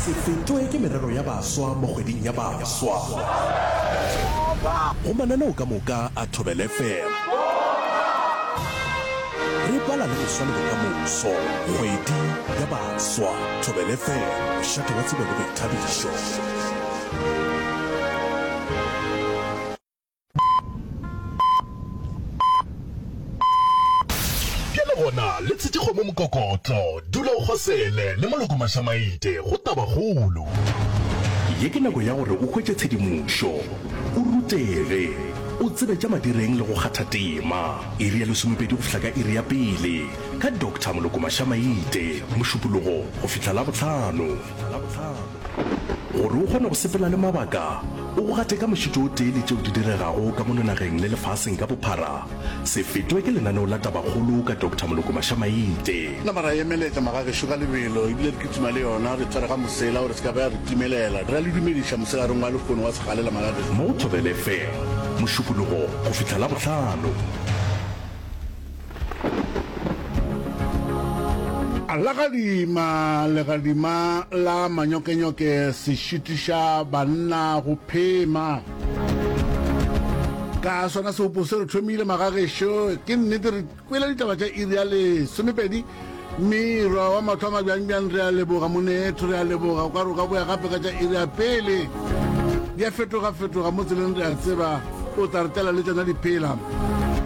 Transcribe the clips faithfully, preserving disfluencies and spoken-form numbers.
Se fetwe ke merero ya baswa mo kgweding ya baswa. Go mananeo ka moka a Thobela F M. Re bala le moswa le bokamoso. Kgwedi ya baswa. Thobela F M, mošate wa tsebo le boithabišo. Bjale gona le tshetše kgomo mokokotlo, dula o kgosele le Moloko Mašamaite go Tabakgolo. Ye ke nako ya gore o hwetše tshedimošo, o rutege, o tsebe tša madireng le go kgatha tema. Iri ya lesomepedi go fihla ka iri ya pele, ka Doctor Moloko Mašamaite, Mošupologo go fihla Labohlano. Gore o kgone go sepela le mabaka, o go gate ka mošito o tee le tšeo di diregago ka mono nageng le lefaseng ka bophara, se fetwe ke lenaneo la Tabakgolo ka Doctor Moloko Mašamaite. Nama ra emeletša magagešo ka lebelo, ebile re kitima le yona, re tshware ga mosela gore se ka ba ya re timelela. Re a le dumediša mosegareng wa lehono wa segalela magagešo. Mo go Thobela F M, Mošupologo go fihla Labohlano. Legadima, legadima la manyokenyoke se šitiša banna go phema. Ka sona seopo se re thomile magagešo, ke nnete re kwele ditaba tša iri ya lesomepedi mme wa mahlo a mabjangbjang. Re a leboga monetho, re a leboga. O ka re o ka boya gape ka tša iri ya pele, di a fetoga-fetoga mo tseleng, re a tseba o tla re tlela le tšona diphela.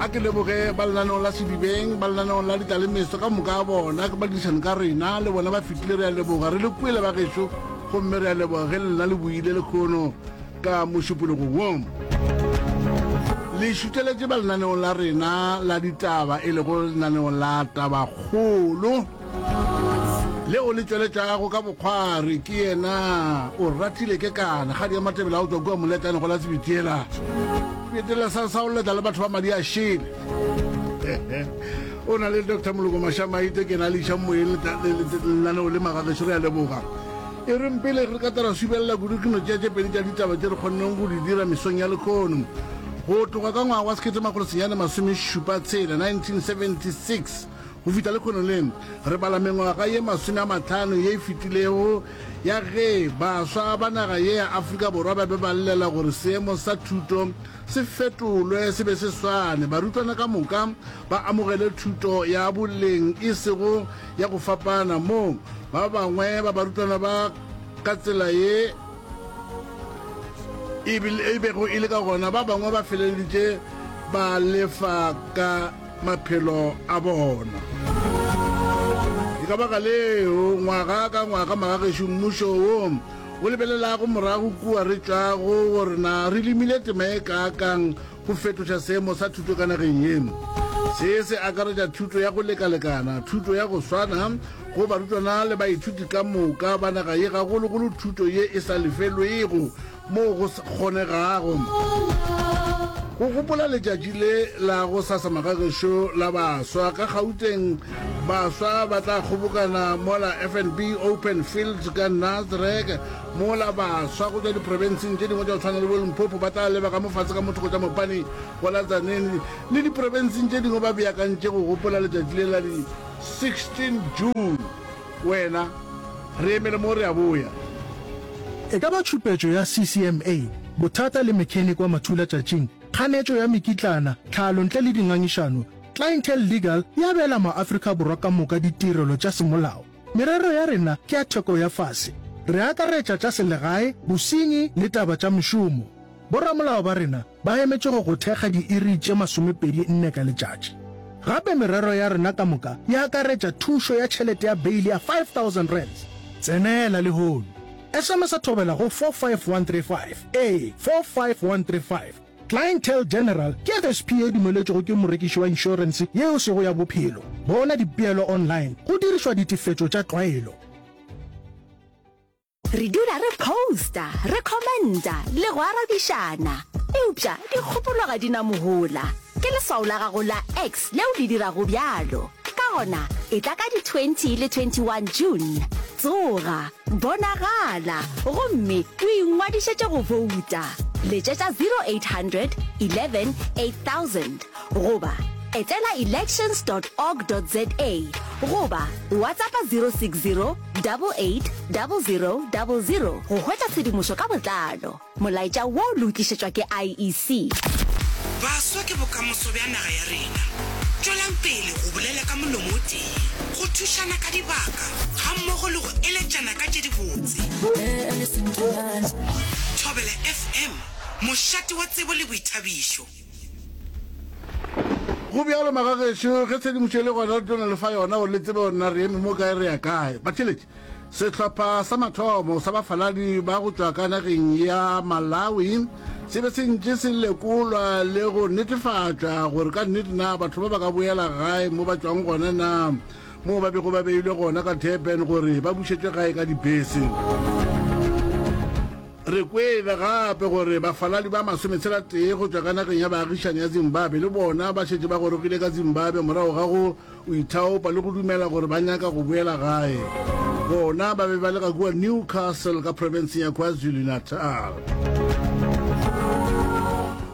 A ke leboge ba lenaneo la Sedibeng, ba lenaneo la Ditlalemeso ka moka a bona, ke badirišane ka rena le bona ba fetile. Re a leboga, re le kwele ba gešo, gomme re a leboga ge lena le boile lekgono ka mošupologo wo le šuteletše ba lenaneong la rena la ditaba, e lego lenaneo la Tabakgolo leo le tšweletšago ka bokgwari ke yena o ratile ke kana kgadi ya Matebele a o tswa kua Moletane go la Sebitiela betela sa sa o letla le batho ba madi a šele. O na le Doctor Moloko Mašamaite, ke na le iša moyeng lenaneo le magagešo. Re a leboga. E reng pele re ka tara subelela kudu, ke no tšea tše pedi tša ditaba tše re kgonneng go di dira mesong ya lekgono. Go tloga ka ngwaga wa sekete makgolo senyane masome šupa tshela, nineteen seventy-six, go fihla lekgono le re bala mengwaga ye masome a mahlano ye e fetilego ya ge baswa ba naga ye ya Afrika Borwa ba be ba llela gore seemo sa thuto se fetolwe se be se swane, barutwana ka moka ba amogele thuto ya boleng e sego ya go fapana, mo ba bangwe ba barutwana ba ka tsela ye e bego e le ka gona, ba bangwe ba feleleditše ba lefa ka maphelo a bona. Ke ka baka leo ngwaga ka ngwaga magagešo mmušo wo o lebelelago morago kua re tšwago gore na re lemile tema e kaakang go fetoša seemo sa thuto ka nageng ye. Se se akaretša thuto ya go lekalekana, thuto ya go swana go barutwana le baithuti ka moka ba naga ye, gagologolo thuto ye e sa lefelwego moo go kgonegago. Go gopola letšatši le la go sasa magagešo la baswa ka Gauteng, baswa ba tla kgobokana mola F N B Open Fields ka Nasrec, mola baswa go tšwa diprofenseng tše dingwe tša go tshwana le bo Limpopo ba tla leba ka mofatshe ka mothoko tša Mopani go la Tzaneen le diprofenseng tše dingwe, ba beakantše go gopola letšatši le la di sixteen June. Wena re emele mo, re a boya. E ka ba tšhupetšo ya C C M A, bothata le mechanic wa mathula tšatšing, kganetšo ya mekitlana, tlhalo ntle le dingangišano, Clientele Legal e abela maAfrika Borwa ka moka ditirelo tša semolao. Merero ya rena ke ya theko ya fase. Re akaretša tša selegae, bosenyi le taba tša mešomo. Boramolao ba rena ba emetše go go thekga diiri tše masomepedi nne ka letšatši. Gape merero ya rena ka moka e akaretša thušo ya tšhelete ya beile ya five thousand rands. Tsenela lehono. S M S Thobela go four five one three five. Ee, four five one three five. Clientele General ke F S P e dumeletšwego ke morekiši wa inšorense yeo sego ya bophelo. Bona dipeelo online go dirišwa ditefetšo tša tlwaelo. Re dula re posta, re commenta le go arabišana, eupša dikgopolo ga di na mohola. Ke leswao la gago la X leo le dirago bjalo. Ka gona e tla ka di twenty le twenty-one June, tsoga, bonagala gomme o ingwadišetše go bouta. Letšetša zero eight hundred eleven eight thousand goba Etela elections dot org dot za goba WhatsAppa zero six zero double eight double zero double zero go hwetša tshedimošo ka botlalo. Molaetša wo le o tlišetšwa ke I E C. Baswa ke bokamoso bja naga ya rena. Tšwelang pele go bolela ka molomo o tee, go thušana ka dibaka gammogo le go eletšana ka tše dibotse. Thobela F M, mošate wa tsebo le boithabišo. Go bjalo magagešo, ge tshedimošo e le gona re tlo no le fa yona gore le tsebe gore na re eme mo kae re ya kae. Batheeletši, sehlopha sa mathomo sa bafaladi ba go tšwa ka nageng ya Malawi se be se ntše se lekolwa le go netefatšwa gore ka nnete na batho ba ba ka boela gae mo ba tšwang gona na moo ba bego ba beilwe gona ka Durban gore ba bušetšwe gae ka dibese. Re kwele gape gore bafaladi ba masometshela tee go tšwa ka nageng ya baagišani ya Zimbabwe le bona ba šetše ba gorogile ka Zimbabwe morago ga go ithaopa le go dumela gore ba nyaka go boela gae. Bona ba be ba le ka kua Newcastle ka profenseng ya KwaZulu-Natal.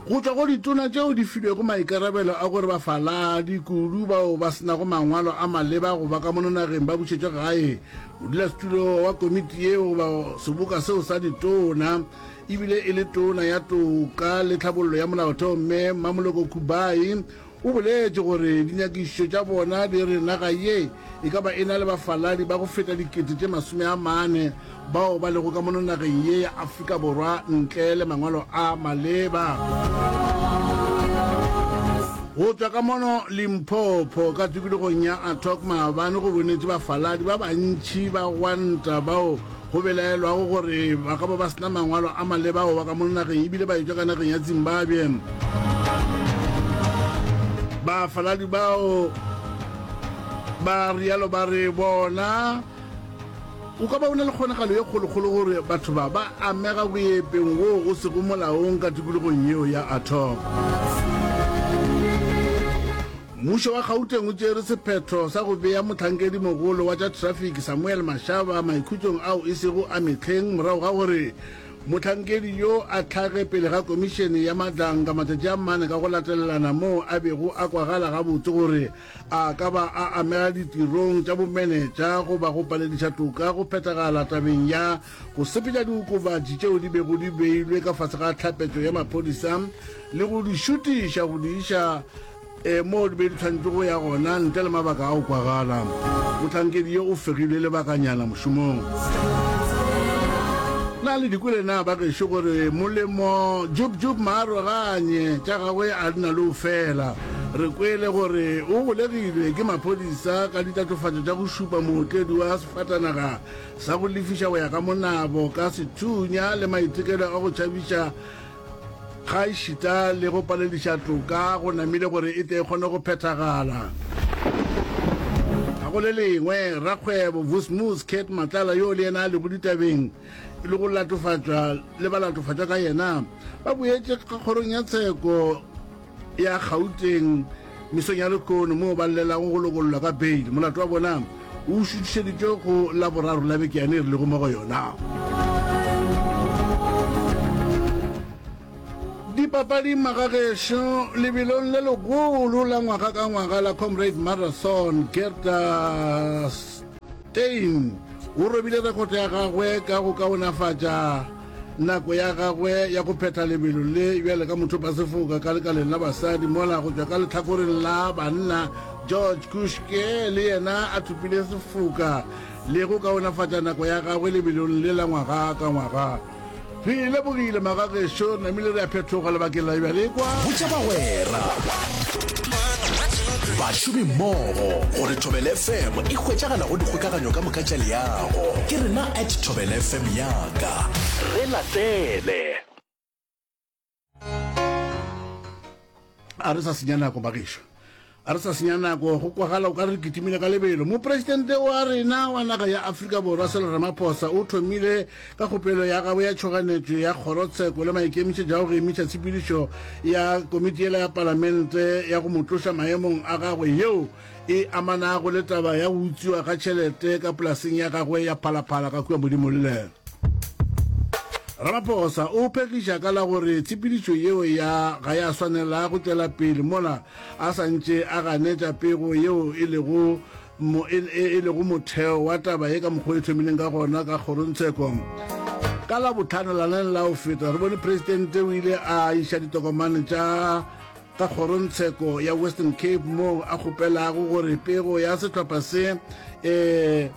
Go tšwa go ditona tšeo di filwego maikarabelo a gore bafaladi, kudu bao ba se nago mangwalo a maleba go ba ka mono nageng, ba bušetšwe gae, modulasetulo wa komiti yeo goba seboka seo sa ditona ebile e le tona ya toka le tlhabollo ya molaotheo Mme Mmamoloko Kubayi o boletše gore dinyakišišo tša bona di re naga ye e ka ba e na le bafaladi ba go feta dikete tše masome a mane bao ba lego ka mono nageng ye ya Afrika Borwa ntle le mangwalo a maleba. Go tšwa ka mono Limpopo ka tikologong ya Atok maabane go bonetše bafaladi ba bantši ba gwanta bao go belaelwago gore ba ka ba ba se na mangwalo a maleba go ba ka mono nageng ebile ba etšwa ka nageng ya Zimbabwe. Bafaladi bao ba rialo ba re bona o ka ba o na le kgonagalo ye kgolokgolo gore batho ba ba amega boepeng woo o sego molaong ka tikologong yeo ya Atok. Mmušo wa Gauteng o tšere sephetho sa go bea mohlankedimogolo wa tša traffic Samuel Mashaba maikhutšong ao e sego a mehleng morago ga gore mohlankedi yo a hlage pele ga komišene ya Madlanka matšatši a mane ka go latelelana moo a bego a kwagala gabotse gore a ka ba a amega ditirong tša bomenetša goba go palediša toka go phethagala tabeng ya go sepetša diokobatši tšeo di bego di beilwe ka fase ga tlhapetšo ya maphodisa le go di šutiša go di iša e moo di be di tshwanetše go ya gona ntle le mabaka a go kwagala. Mohlankedi yo o fegilwe lebakanyana mošomong. Na le di kwele na ba gešo gore molemo Jub Jub maaroganye tša gagwe a di na le o fela? Re kwele gore o golegilwe ke maphodisa ka ditatofatšo tša go šupa mootledi wa sefatanaga sa go lefiša go ya ka monabo ka sethunya le maitekelo a go tšhabiša gaešita le go palediša toka go namile gore e tle e kgone go phethagala. Ga go le lengwe, rakgwebo Vusmus Cat Matlala yo le yena a lego ditabeng le go latofatšwa le balatofatšwa ka yena ba boetše ka kgorong ya tsheko ya Gauteng mesong ya lehono moo ba llelago go lokollwa ka bail. Molato wa bona o šuthišeditšwe go Laboraro la beke yane e re lego mo go yona. Dipapading magagešo lebelong le legolo la ngwaga ka ngwaga la Comrade Marathon, Gerda Steyn o robile rekoto ya gagwe ka go kaonafatša nako ya gagwe ya go phetha lebelo le bjale ka mothopasefoka ka lekaleng la basadi, mola go tšwa ka lehlakoreng la banna George Kushke le yena a thopile sefoka le go kaonafatša nako ya gagwe lebelong le la ngwaga ka ngwaga. Re lebogile magagešo, namile re a phethoga lebakeng la bjale kwa. Botša bagwera, bašomimmogo gore Thobela F M e hwetšagala go dikgokaganyo ka moka tša leago. Ke rena at Thobela F M yaka. Re latele. A re sa senya nako bagešo, a re sa senya nako, go kwagala o ka re kitimile ka lebelo. Mopresidente wa rena wa naga ya Afrika Borwa Cyril Ramaphosa o thomile ka kgopelo ya gagwe ya tšhoganetšo ya kgorotsheko le maikemišetšo a go emiša tshepedišo ya komiti yela ya palamente ya go mo tloša maemong a gagwe yeo e amanago le taba ya go utswiwa ga tšhelete ka polaseng ya gagwe ya Phalaphala ka kua Modimolle. Ramaphosa o phegiša ka la gore tshepedišo yeo ya ga ya swanela go tšwela pele mola a sa ntše a ganetša pego yeo e lego mo, e, e, e lego motheo wa taba ye ka mokgwa e thomileng ka gona ka kgorongtsheko. Ka Labohlano laneng la go feta re bone Presidente o ile a iša ditokomane tša ka kgorongtsheko ya Western Cape moo a kgopelago gore pego ya sehlopha se e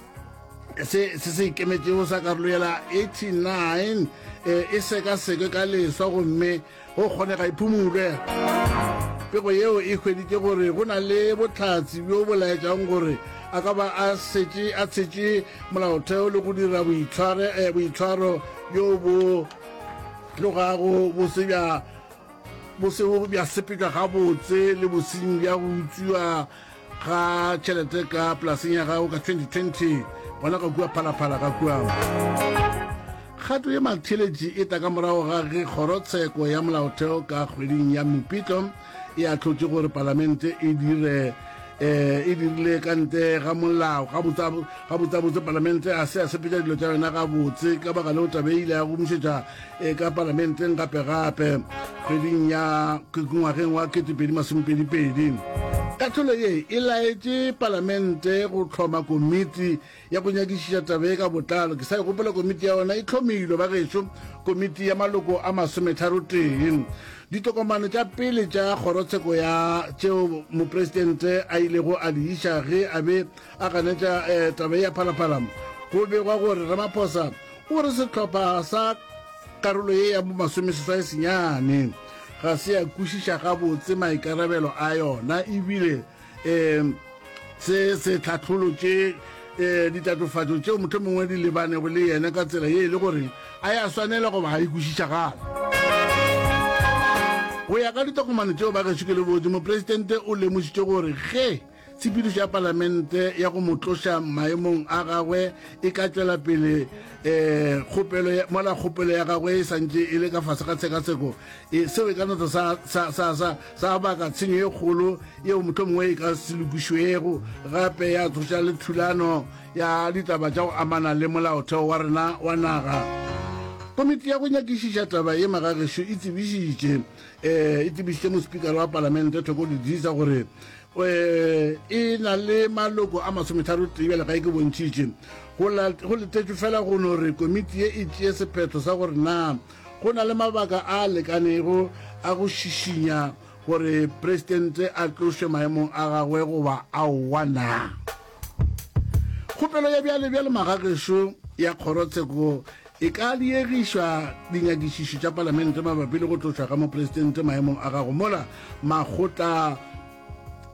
se se se ikemetšego sa karolo ya la eighty-nine e, e sekasekwe ka leswa gomme go kgonega e phumulwe. Pego yeo e hweditše gore go na le bohlatse bjo bo laetšago gore a ka ba a setše a tshetše molaotheo le go dira boitshware, eh, boitshwaro bjo bo tlogago bo se bja bo sego bja sepetšwa gabotse le bosenyi bja go utswiwa ga tšhelete ka polaseng ya gago ka twenty twenty gona ka kua Phalaphala ka kua. Kgato ye matheletši e tla ka morago ga ge kgorotsheko ya molaotheo ka kgweding ya Mopitlo e ahlotše gore palamente e dire e dirile ka ntle ga molao. Gabotsabotse palamente ga se ya sepetša dilo tša yona gabotse, ka baka leo taba e ile ya gomišetša ka palamenteng gape-gape kgweding ya ngwageng wa ketepedi masomepedi pedi. Kahlolo ye e laetše palamente go hloma komiti ya go nyakišiša taba ye ka botlalo. Ke sa e gopola komiti ya yona e hlomilwe, bagešo, komiti ya maloko a masometharotee. Ditokomane tša pele tša kgorotsheko ya tšeo mopresidente a ilego a di iša ge a be a ganetša taba ye ya Phalaphala, go begwa gore Ramaphosa o re sehlopha sa karolo ye ya bomasomeseswai senyane ga se ya kwešiša gabotse maikarabelo a yona ebile um se se tlhahlolotše ditatofatšo tšeo mohlomongwe di lebanego le yena ka tsela ye e le gore a ya swanela goba ga e kwešišagale. Go ya ka ditokomane tšeo ba gešo ke le botše, mopresidente o lemošitše gore ge tshepedišo ya palamente ya go mo tloša maemong a gagwe e ka tšwela pele um kgopelo mola kgopelo ya gagwe e santše e le ka fase ga tshekatsheko, e, seo e ka no sa, sa, sa, sa, sa baka tshenyo e kgolo yeo mohlomongwe e ka se lokišwego, gape ya tsoša le thulano ya ditaba tša go amana le molaotheo wa rena wa naga. Komiti ya go nyakišiša taba ye magagešo e tsebišitše e tsebišitše mospikara wa palamente Thoko Didiza gore e na le maloko a masometharo tee bjale ga e ke bontšhitše. Go letetšwe fela go no re komiti ye e tšee sephetho sa gore na go na le mabaka a lekanego a go šišinya gore presidente a tlošwe maemong a gagwe goba aowa na. Kgopelo ya bjale bjale magagešo ya kgorotsheko e ka diegišwa dinyakišišo tša palamente mabapi le go tlošwa ga mopresidente maemong a gago mola makgotla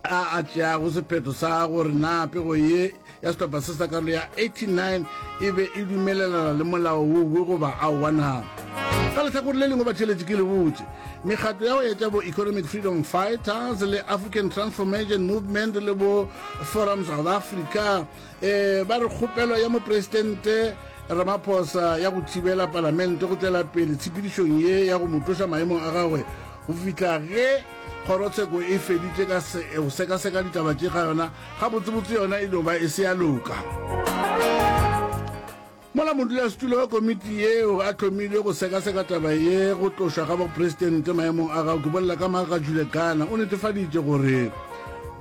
a a tšeago sephetho sa gore na pego ye ya sehlopha se sa karolo ya eighty-nine e be e dumelelana le molao wo goba aowa na. Ka lehlakore le lengwe batheeletši ke le botše, mekgatlo ya go etša bo Economic Freedom Fighters le African Transformation Movement le bo Forum South Africa um ba re kgopelo ya mopresidente Ramaphosa ya go thibela palamente go tšwela pele tshepedišong ye ya go mo tloša maemong a gagwe go fihla ge kgorotsheko e feditše ka go sekaseka ditaba tše ga yona gabotsebotse yona e no ba e se ya loka. Mola modulasetulo wa komiti yeo a hlomilwe go sekaseka taba ye go tlošwa ga bopresidente maemong a gago, ke bolela ka Maga Ghana, o netefaditše gore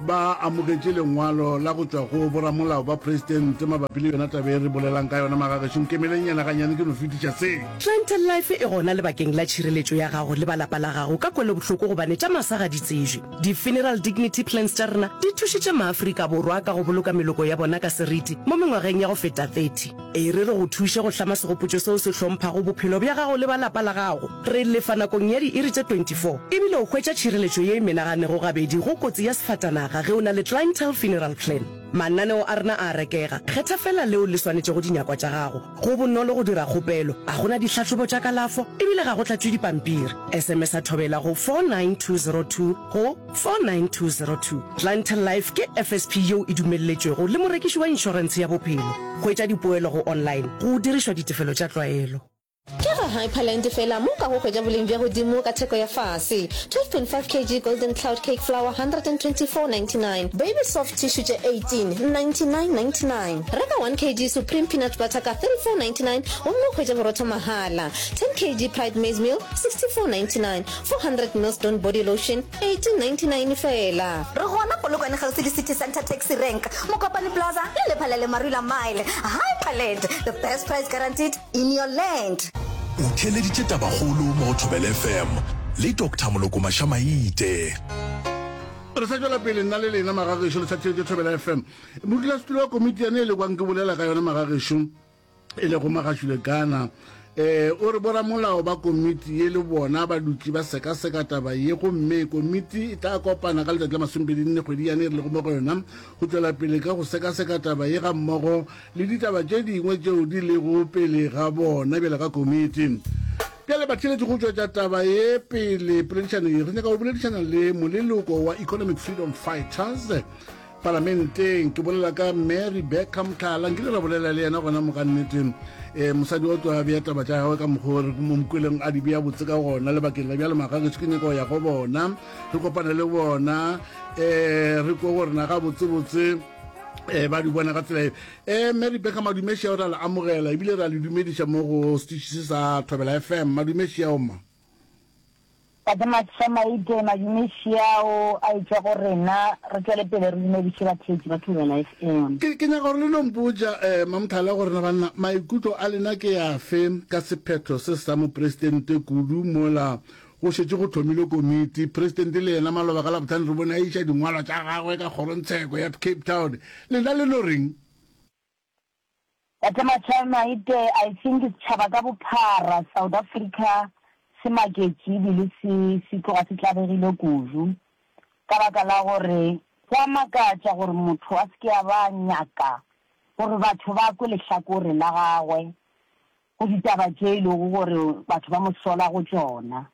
ba amogetše lengwalo la go tšwa go boramolao ba presidente mabapi le yona taba e re bolelang ka yona. Magagešo, nkemeleng nyana ganyane ke no fetiša se. Clientele Life e gona lebakeng la tšhireletšo ya gago le ba lapa la gago ka kwelobohloko gobane tša masa ga di tsejwe. Di-funeral dignity plans tša rena di thušitše maAfrika Borwa ka go boloka meloko ya bona ka seriti mo mengwageng ya go feta thirty. E re re go thuše go hlama segopotšo seo se hlomphago bophelo bja gago le ba lapa la gago. Re lefa nakong ya diiri tše twenty-four ebile o hwetša tšhireletšo ye e menaganego gabedi go kotsi ya sefatanaga ge o na le Clientele Funeral Plan. Mananeo a rena a a rekega, kgetha feela leo le swanetšego dinyakwa tša gago. Go bonolo go dira kgopelo, ga go na dihlahlobo tša kalafo ebile ga go tlatšwe dipampiri. S M S a thobela go four nine two zero two go four nine two zero two. Clientele Life ke F S P yeo e dumelletšwego le morekiši wa inšorentshe ya bophelo. Hwetša dipoelo go online go dirišwa ditefelo tša tlwaelo. Ke ka Hyperland fela mo o kago hwetša boleng bja godimo ka theko ya fase. twelve point five kg Golden Cloud Cake Flour one hundred and twenty-four ninety-nine, Baby Soft Tissue tše eighteen, ninety-nine ninety-nine. Reka one kg Supreme Peanut Butter ka thirty-four ninety-nine gomme o hwetše borotho mahala. ten kg Pride Maize Meal sixty-four ninety-nine, four hundred mils Dawn Body Lotion eighteen ninety-nine fela. Re gona Polokwane kgauswi le City Centre Taxi Rank, Mokopane Plaza le Lephalale Marula Mile. Hyperland, the best price guaranteed in your land. O theeleditše Tabakgolo mo go Thobela F M le Doctor Moloko Mašamaite. Re sa tšwela pele nna le lena magagešo le sa theetše Thobela F M. Modulasetulo wa komiti yane e le kwang ke bolela ka yona magagešo e lego Magashule Gana eh o re boramolao ba komiti ye le bona ba dutše ba sekaseka taba ye, gomme komiti e tla kopana ka letšatši la masomepedi nne kgwedi yane e re lego mo go yona go tšwela pele ka go sekaseka taba ye ga mmogo le ditaba tše dingwe tšeo di lego pele ga bona bjale ka komiti. Bjale batheeletši, go tšwetša taba ye pele poledišano ye, re nyaka go boledišana le moleloko wa Economic Freedom Fighters palamenteng. Ke bolela ka Mary Rebecca Motlala. Nkile ra bolela le yena gona mo ka nnete um mosadi o tlo a bea taba tša gagwe ka mokgwa re mo mokweleng a di bea botse ka gona. Lebakeng la bjale magageso ke nyaka go ya go bona, re kopane le bona, um re kwe gore na ga botsebotse um ba di bona ka tsela e. um Mary Rebecca, madumešia o ra le amogela ebile ra le dumediša mo go setiši se sa Thobela F M. Madumešia oma. Tate Mašamaite, madumešiao a etšwa go rena, re tšwele pele re dumediše batheetši ba Thobela F M. Ke ke nyaka gore le no mpotša um Mamothala gore na banna maikutlo a lena ke afe ka sephetho se sa mopresidente, kudu mola go šetše go thomile komiti. Presidente le yena maloba ka Labohlano re bone a iša dingwalwa tša gagwe ka kgorongtsheko ya Cape Town. Lena le no reng? Tate Mašamaite, I think setšhaba ka bophara South Africa se maketše ebile se se tloga se tlabegile kudu ka baka la gore go a makatša gore motho a se ke a ba nyaka gore batho ba kwe lehlakore la gagwe go ditaba tše e lego gore batho ba mo sola go tšona.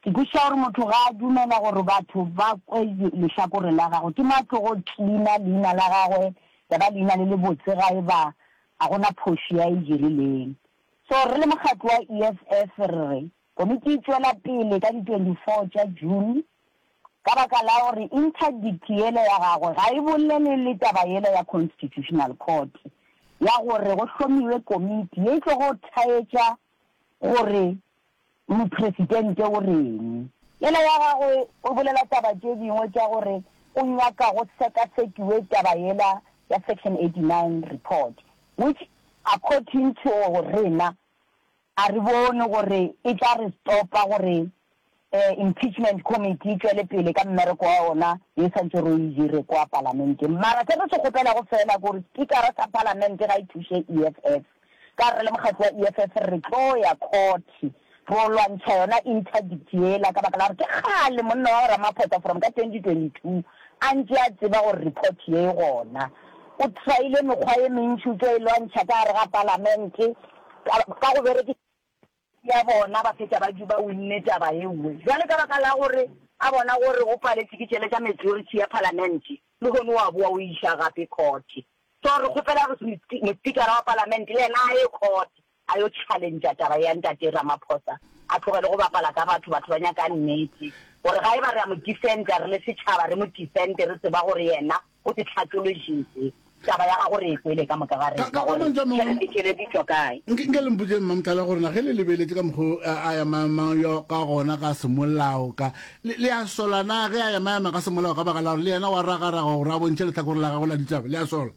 Ke kwešiša gore motho ga a dumela gore batho ba kwe lehlakore la gagwe, ke mo a tlogo cleaner leina la gagwe ya ba leina le lebotse ga e ba ga gona phošo ya e dirileng. So re le mokgatlo wa E F F re re komiti e tšwela pele ka di twenty-four tša June ka baka la gore interdict yele ya gagwe ga e bolele le taba yela ya Constitutional Court ya gore go hlomiwe komiti ye e tlogo thaetša gore mopresidente o reng. Yela ya gagwe o bolela taba tše dingwe tša gore o nyaka go sekasekiwe taba yela ya section eighty-nine report, which according to rena a re bone gore e tla re stopa gore eh, impeachment committee e tšwele pele ka mmereko wa ona ye santse re e dire kwa palamenteng. Mara se re se kgopelago fela ke gore speakera sa palamente ga e thuše E F F, ka re le mokgatlo wa E F F re tlo ya court ro lwantšha yona interdict yela, ka baka la gore ke kgale monna wa Ramaphosa from ka twenty twenty-two a ntše a tseba gore report ye e gona. O tryile mekgwa ye mentši, o tlo e lwantšha ka gare ga palamente ka ka go berekisa ya bona, ba fetša ba ba winne taba ye nngwe. Jwale ka baka la gore a bona gore go paletše ke tšele tša majority ya palamente, le gone wa boa o iša gape court. So re kgopela gore mospikara wa palamente le yena a ye court a yo challengea taba ya ntate Ramaphosa, a tlogele go bapala ka batho. Batho ba nyaka nnete gore ga e ba re a mo defenda re le setšhaba, re mo defende re tseba gore yena o se tlhathologile taba ya gago, re e kwele ka moka ga Ka- rena ka gore mantšu a mangwe- tšhelete tšhelete di tšwa kae. Nke nke le mpotse Mamothala gore na ge le lebeletše ka mokgwa a a emaemang yo ka gona ka semolao ka le le a sola na ge a emaema ka semolao ka baka la gore le yena wa ragaraga gore a bontšhe lehlakore la gagwe la ditaba? Le a sola?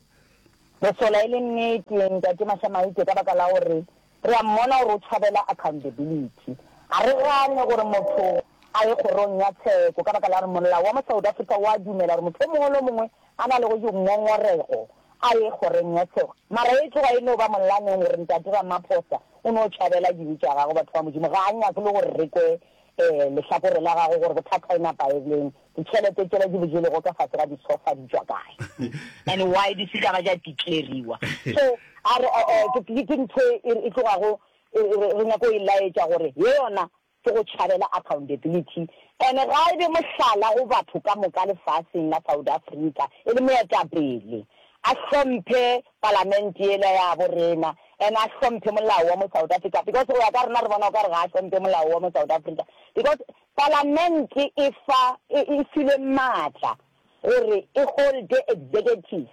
Re sola e le nnete, ntate Mašamaite, ka baka la gore re a mmona gore o tšhabela accountability. A re gane gore motho a ye kgorong ya tsheko, ka baka la gore molao wa mo South Africa wa dumela gore motho o mongwe le o mongwe a na le go dingongorego a ye kgorong ya tsheko. Mara e tloga e no ba molaneng gore ntate Ramaphosa o no tšhabela dibe tša gagwe. Batho ba Modimo, ga a nyake le gore re kwe um lehlakore la gagwe gore bothata e napa e leng ditšhelete tšela di bojelego ka fase ga disofa di tšwa kae and why di se ka ba tša declariwa. So a re eh, eh, ke ke- ke ntho e e tlogago e- e- re nyako e laetša gore ye yona ke go tšhabela accountability, and ga e be mohlala go batho ka moka lefaseng la South Africa e le moetapele a hlomphe palamente yela ya bo rena. And a hlomphe molao wa mo South Africa because go ya ka rena re bona o ka re ga a hlomphe molao wa mo South Africa because palamente e fa e, e filwe maatla gore e holde executive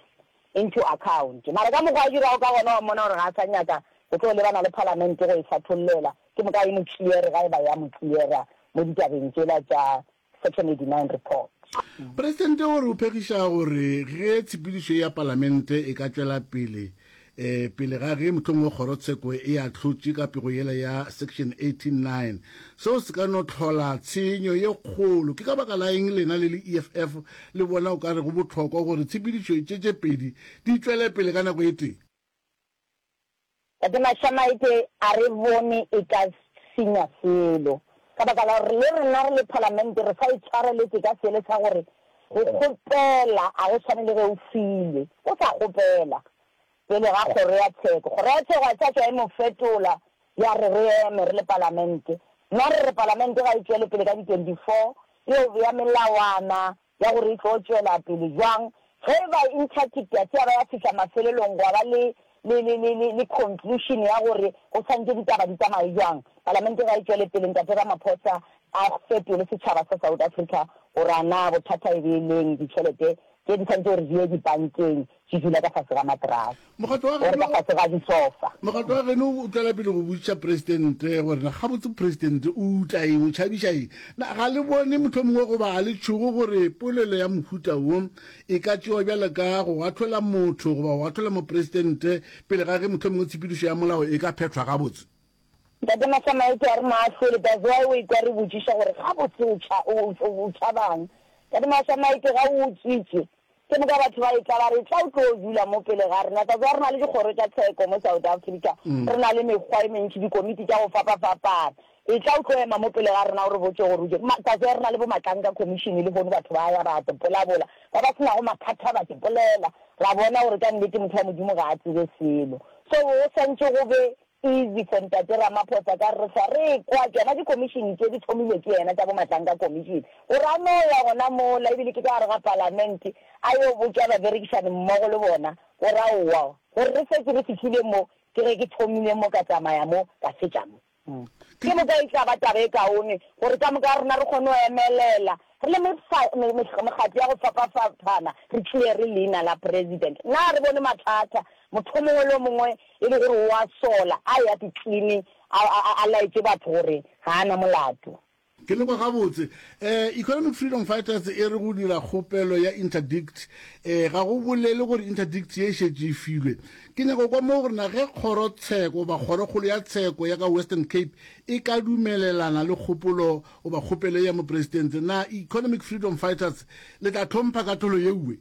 into account mara ka mokgwa a dirago ka gona wa mmona gore ga a sa nyaka go tlo lebana le palamente go e hlathollela ke moka e mo clear ga e ba ya mo cleara mo ditabeng tšela tša section eighty nine report. Presidente o re o phegiša gore ge tshepedišo ya palamente e ka tšwela pele um pele ga ge mohlomongwe kgorotsheko e ahlotše ka pego yela ya section eighteen nine, seo se ka no hlola tshenyo ye kgolo. Ke ka baka la eng lena le le E F F le bona o ka re go bohlokwa gore tshepedišo tše tše pedi di tšwele pele ka nako e tee? Tate Mashamaite a re bone e ka senya selo ka baka la gore le rena re le Palamente re sa itshwareletše ka sele sa gore go kgopela a go swane le ge o filwe o sa kgopela pele ga kgoro ya tsheko. Kgoro ya tsheko ga sa tšwa e mo fetola ya re re eme re le Palamente. Nna re re Palamente ga e tšwele pele ka di twenty four e yo bea melawana ya gore e tlo tšwela pele bjang. Ge e ba interdict ya se ya ba ya fihla mafelelong gwa ba le le le le le le conclusion ya gore go swanetše ditaba di tsamaye bjang, Palamente ga e tšwele pele Ntate Ramaphosa a fetole setšhaba sa South Africa gore a na bothata e be e leng ditšhelete tše di swanetše gore di ye dibankeng di dula ka fase ga materase Mokgatlo wa or ka geno fase ga disofa. Mokgatlo wa geno o tšwela pele go botšiša Presidente gore na gabotse Presidente o uta eng, o tšhabiša eng. Na ga le bone mohlomongwe goba ga le tšhoge gore polelo ya mohuta wo e ka tšewa bjalo ka go ahlola motho goba go ahlola Mopresidente pele ga ge mohlomongwe tshepedišo ya molao e ka phethwa gabotse? Ntate Masamaite a re moahlole, that's why o ekwa re botšiša gore gabotse o tšha o o tšhabang. Ntate Masamaite ga o utswitše ke moka batho ba etla ba re etla o tlo dula mo pele ga rena. That's why re na le dikgoro tša tsheko mo South Africa, re na le mekgwa e mentši, dikomiti tša go fapafapana. Etla o tlo ema mo pele ga rena o re botše gore o je. That's why re na le bo Matlanka Commission lehono batho ba ya ba te polabola, ba ba se nago mathata ba te polela, ra bona gore ka nnete motho wa Modimo ga a tsebe selo. So go swantše go be easy for Ntate Ramaphosa ka re re hlwa re ekwa tšona di-commission tše di thomilwe ke yena tša bo Matlanka Commission gore a no ya gona mola ebile ke ka gare ga palamente a yo botša baberekišani mmogo le bona gore aowa gore re šetše re fihlile mo ke ge ke thomile mo ka tsamaya mo ka fetša mo. Ke moka e tla ba taba e kaone gore ka moka ga rena re kgone go emelela re le mekgatlo ya go fapafapana re cleare leina la President. Na re bone mathata motho o mongwe le o mongwe e le gore o a sola a eya di-cleaning a, a, a laetše batho gore ga a na molato? Ke le kwa gabotse. Um Economic Freedom Fighters e re go dira kgopelo ya interdict um ga go bolele gore interdict ye e šetše e filwe. Ke nyaka go kwa mo gore na ge kgorotsheko goba kgorokgolo ya tsheko ya ka Western Cape e ka dumelelana le kgopolo goba kgopelo ye ya mopresidente, na Economic Freedom Fighters le tla hlompha kahlolo yeuwe?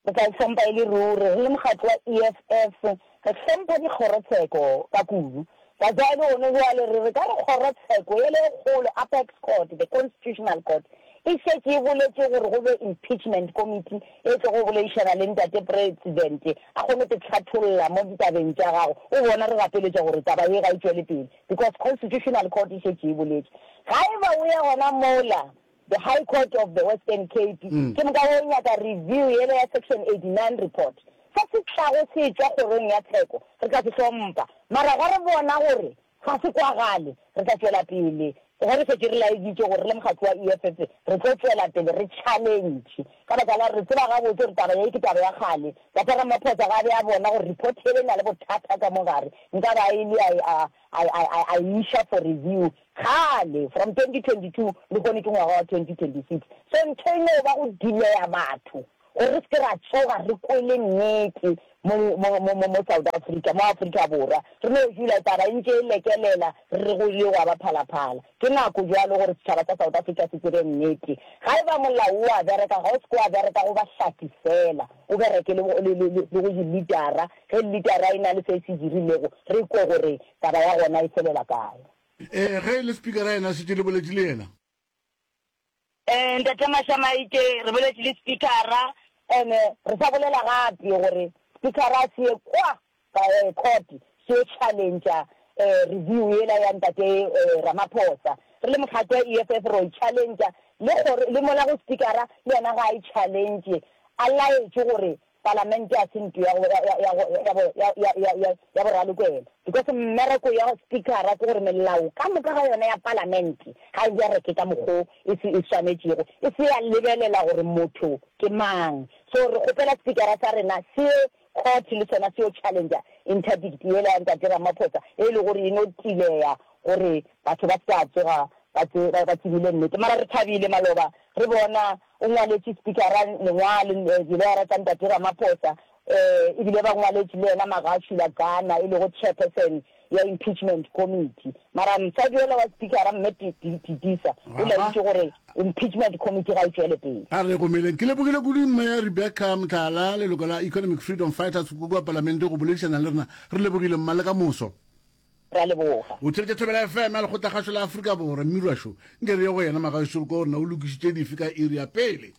Re tla e hlompha e le ruri. Re le mokgatlo wa E F F, re hlompha dikgorotsheko ka kudu. Ka jwale gone jwale re re ka re kgorotsheko yele e kgolo, Apex Court, the Constitutional Court, e šetše e boletše gore go be impeachment committee e tlogo go boledišana le ntate President a kgone go hlatholla mo ditabeng tša gago. O bona re gapeletša gore taba ye ga e tšwele pele because Constitutional Court e šetše e boletše. Ga e ba o ya gona mola the High Court of the Western Cape ke moka o nyaka review yele ya section eighty nine report, se se tlago se tšwa kgorong ya tsheko re tla se hlompha, mara ga re bona gore ga se kwagale re tla tšwela pele ge re šetše re laeditše gore re le mokgatlo wa E F F re tlo tšwela pele re challenge ka baka la re tseba gabotse gore taba ye ke taba ya kgale. Tata Ramaphosa ga a be a bona gore report yele e na le bothata ka mo gare, nka ba e le a a e iša for review kgale from twenty twenty-two, le kone ke ngwaga wa twenty twenty-six. So ntho e no ba go delaya batho gore re se ke ra tsoga re kwele nnete mo mo mo mo South Africa, mo Afrika Borwa re no dula taba e ntše e lekelela re re go ile gwa ba phalaphala. Ke nako bjalo gore setšhaba sa South Africa se tsebe nnete. Ga e ba molao o a bereka, ga o se ke wa bereka go bahlaki fela, o bereke le le le le go di-leadera. Ge leadera e na le se se dirilego, re kwe gore taba ya gona e felela kae. um ge e le speakera yena šetše le boletše le yena? um ntate Mashamaite, re boletše le speakera and re sa bolela gape gore speakera se ye kwa court se yo challengea um review yela ya ntate Ramaphosa. Re le mokgatlo wa E F F ro e challengea le gore le mola go speakera le yena ga a e challenge a laetše gore Palamente a se ntlo ya go, ya, ya, ya, ya, ya, ya, ya, ya boralokwela. Because mmereko ya Speaker-a ke gore melao ka moka ga yona ya Palamente ga e bereke ka mokgo e se e swanetšego, e se ya lebelela gore motho ke mang. So re kgopela Speaker-a sa rena se ye court le sona se yo challenger interdict yela ya Ntate Ramaphosa e le gore e no tileya gore batho ba se ka tsoga ba tse, ba, ba tsebile nnete. Mara re thabile maloba re bona o ngwaletše Speaker-a lengwalo, diloyara tša Ntate Ramaphosa, eh, ebile ba ngwaletše le yena Magashula Gana, e lego chairperson ya impeachment committee. Mara mosadi yola wa Speaker-a, Mme Titisa, o laeditše gore impeachment committee ga e tšwele pele. A re gomeleng. Ke lebogile kudu Mme Rebecca Motala, leloko la Economic Freedom Fighters kua Palamente go boledišana le rena. Re lebogile mma le ka moso. Re a leboga. O theletša Thobela F M ya Lekgotlakgašo la Afrika Borwa. Mmirwašo, nke re ye go yena Magašo re kwa gore na o lokišitše dife ka iri ya pele.